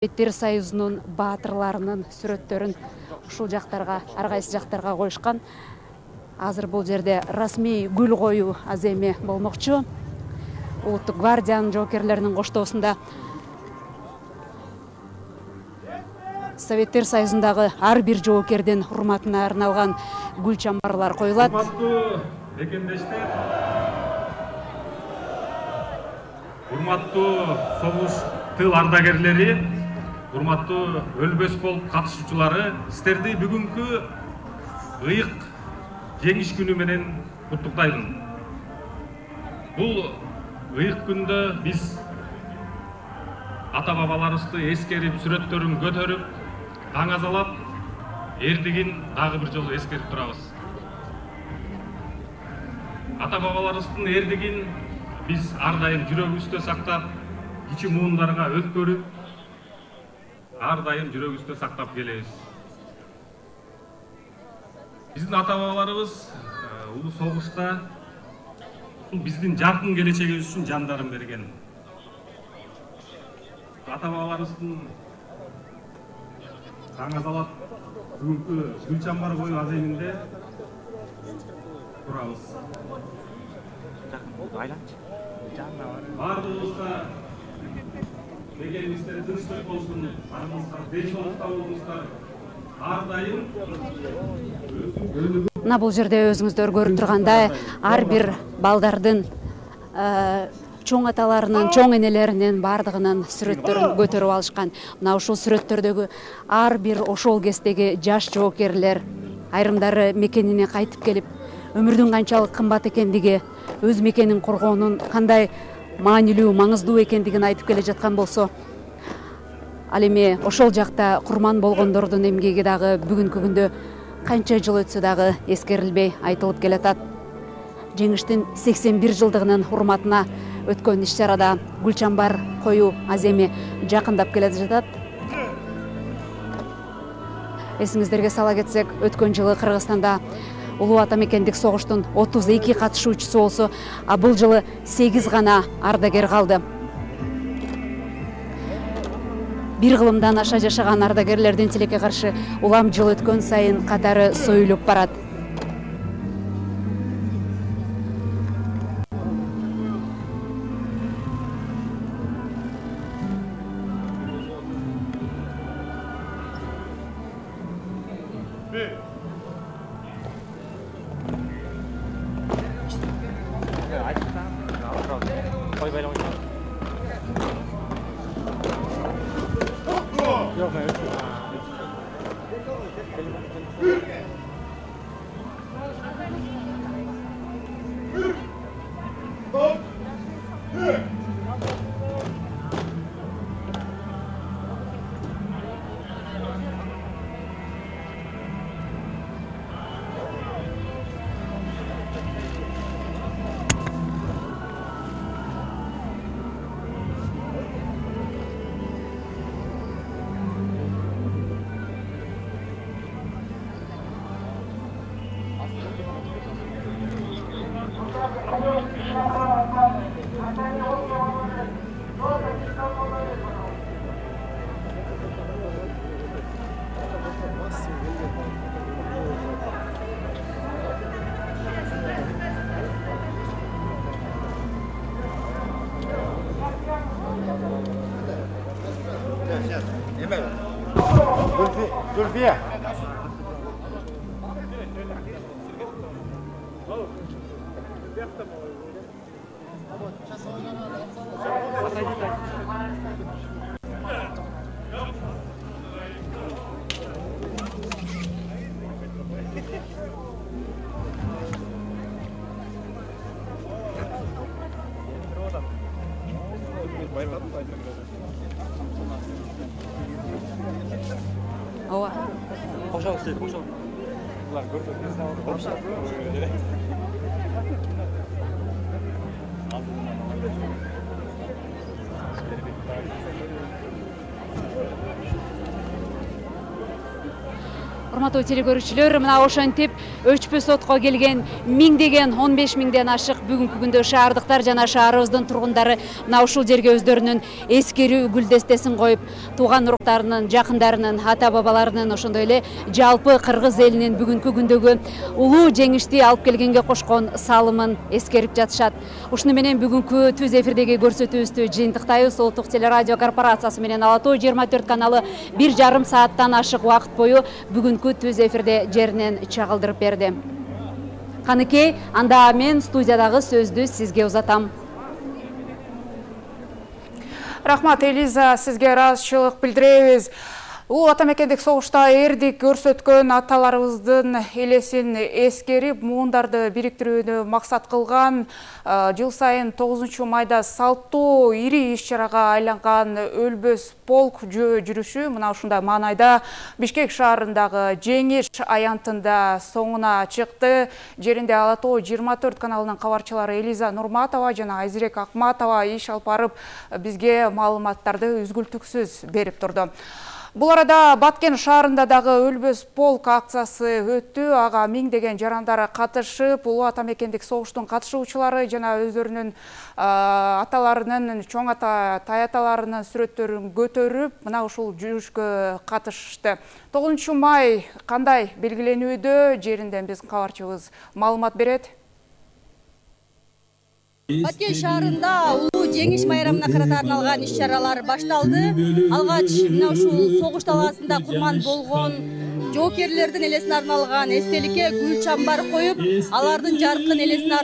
Советтер Союзунун баатырларынын сүрөттөрүн ушул жактарга, ар кайсы жактарга коюшкан. Азыр бул жерде расмий гүл коюу аземи болмокчу. Улуттук гвардиянын жоокерлеринин коштоосунда Советтер Союзундагы ар бир жоокердин урматына арналган гүл чамбарлар коюлат. Урматтуу мекендештер, урматтуу согуш тыл ардагерлери, урматтуу өлбөс полк катышуучулары, сиздерди бүгүнкү ыйык жеңиш күнү менен куттуктаймын. Бул ыйык күндө биз ата бабаларыбызды эскерип, сүрөттөрүн көтөрүп, таңазалап, эрдигин дагы бир жолу эскерип турабыз. Ата бабаларыбыздын эрдигин биз ар дайым жүрөгүбүздө сактап, кичи муундарга өткөрүп, ар дайым жүрөгүбүздө сактап келебиз. Биздин ата бабаларыбыз улуу согушта биздин жаркын келечегибиз үчүн жандарын берген. Ата бабаларыбыздын таңазалап бүгүнкү гүл чамбар коюу аземинде турабыз. Бардыгыбызга дегенибизде тынчтык болсун, арыбызга денсаулыкта болуңуздар. Ар дайым Мына бул жерде өзүңүздөр көрүп тургандай, ар бир балдардын чоң аталарынын, чоң энелеринин бардыгынын сүрөттөрүн көтөрүп алышкан. Мына ушул сүрөттөрдөгү ар бир ошол кездеги жаш жоокерлер, айрымдары мекенине кайтып келип, өмүрдүн канчалык кымбат экендиги, өз мекенин коргоонун кандай маанилүү, маңыздуу экендигин айтып келе жаткан болсо, ал эми ошол жакта курман болгондордун эмгеги дагы бүгүнкү күндө канча жыл өтсө дагы эскерилбей айтылып келатат. Жеңиштин 81 жылдыгынын урматына өткөн иш-чарада гүл чамбар коюу аземи жакындап келе жатат. Эсиңиздерге сала кетсек, өткөн жылы Кыргызстанда улуу ата мекендик согуштун 32 катышуучусу болсо, а бул жылы 8 гана ардагер калды. Бир кылымдан аша жашаган ардагерлердин тилекке каршы улам жыл өткөн сайын катары союлуп барат. Зульфия. Ооба. Кошо сиз, кошо. Булар көрдүк. Кошо. Урматтуу телекөрүүчүлөр, мына ошентип өчпө сотко келген миңдеген 15 миңден ашык бүгүнкү күндө шаардыктар жана шаарыбыздын тургундары мына ушул жерге өздөрүнүн эскерүү гүлдестесин коюп, тууган уруктарынын, жакындарынын, ата бабаларынын, ошондой эле жалпы кыргыз элинин бүгүнкү күндөгү улуу жеңишти алып келгенге кошкон салымын эскерип жатышат. Ушуну менен бүгүнкү түз эфирдеги көрсөтүүбүздү жыйынтыктайбыз. Улуттук телерадио корпорациясы менен Ала Тоо 24 каналы 1,5 сааттан ашык убакыт бою бүгүнкү түз эфирде жеринен чагылдырып берди. Каныкей, анда мен студиядагы сөздү сизге узатам. Рахмат, Элиза, сизге ыраазычылык билдиребиз. Улуу ата мекендик согушта эрдик көрсөткөн аталарыбыздын элесин эскерип, муундарды бириктирүүнү максат кылган жыл сайын 9 майда салттуу ири иш-чарага айланган өлбөс полк жүрүшү мына ушундай маанайда Бишкек шаарындагы Жеңиш аянтында соңуна чыкты. Жеринде Ала Тоо 24 каналынын кабарчылары Элиза Нурматова жана Айзирек Акматова иш алып барып, бизге маалыматтарды үзгүлтүксүз берип турду. Бул арада Баткен шаарында дагы өлбөс полк акциясы өттү. Ага миңдеген жарандар катышып, улуу ата мекендик согуштун катышуучулары жана өздөрүнүн аталарынын, чоң ата, тай аталарынын сүрөттөрүн көтөрүп, мына ушул жүрүшкө катышты. 9 май кандай белгиленүүдө? Жеринден биздин кабарчыбыз маалымат берет. Баткен шаарында улуу жеңиш майрамына карата арналган иш-чаралар башталды. Алгач мына ушул согуш талаасында курман болгон жоокерлердин элесине арналган эстеликке гүл чамбар коюп, алардын жаркын элесине